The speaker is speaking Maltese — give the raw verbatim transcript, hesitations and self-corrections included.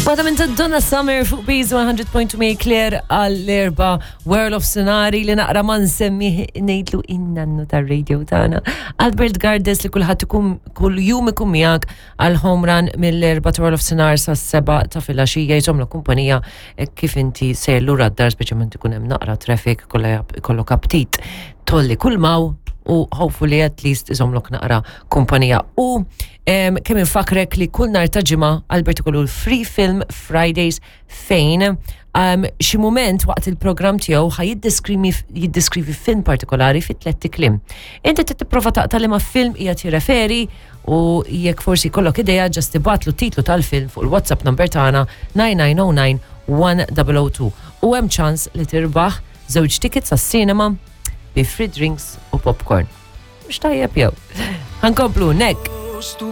Waħda minn ta' Donna Summer fuq Bees one hundred point two May Claire għall-erba World of Sonari li naqra ma nsemmi ngħidlu in-nannu tar-radio tagħna. Albert Gardes li kulħadd ikun kull jum ikun miegħek għal home run mill-erba ta' World of Sonar sa' seba ta' filgħaxija jżommlu kumpanija eh, kif inti sejjer lura d-dar, speċjalment ikun hemm naqra traffic, kollha kollok aptit tolli kull maw u hopefully at least iżomlok naqra kumpanija. U em, kemm infakrek li kull nar ta' ġimgħa Albert ikollu l-Free Film Fridays fejn um, xi moment waqt il-programm tiegħu ħa jiddeskrivi jiddeskrivi film partikolari fi tlett kliem. Inti trid tipprova taqta' liema film qiegħed jirreferi u jekk forsi kollok idea, just ibgħatlu titlu tal-film fuq il-WhatsApp number tagħna nine nine zero nine one zero zero two u hemm ċans li tirbaħ żewġ tickets għas-cinema bi free drinks u popcorn. Mhux tajjeb jew? Ħa nkomplu nek.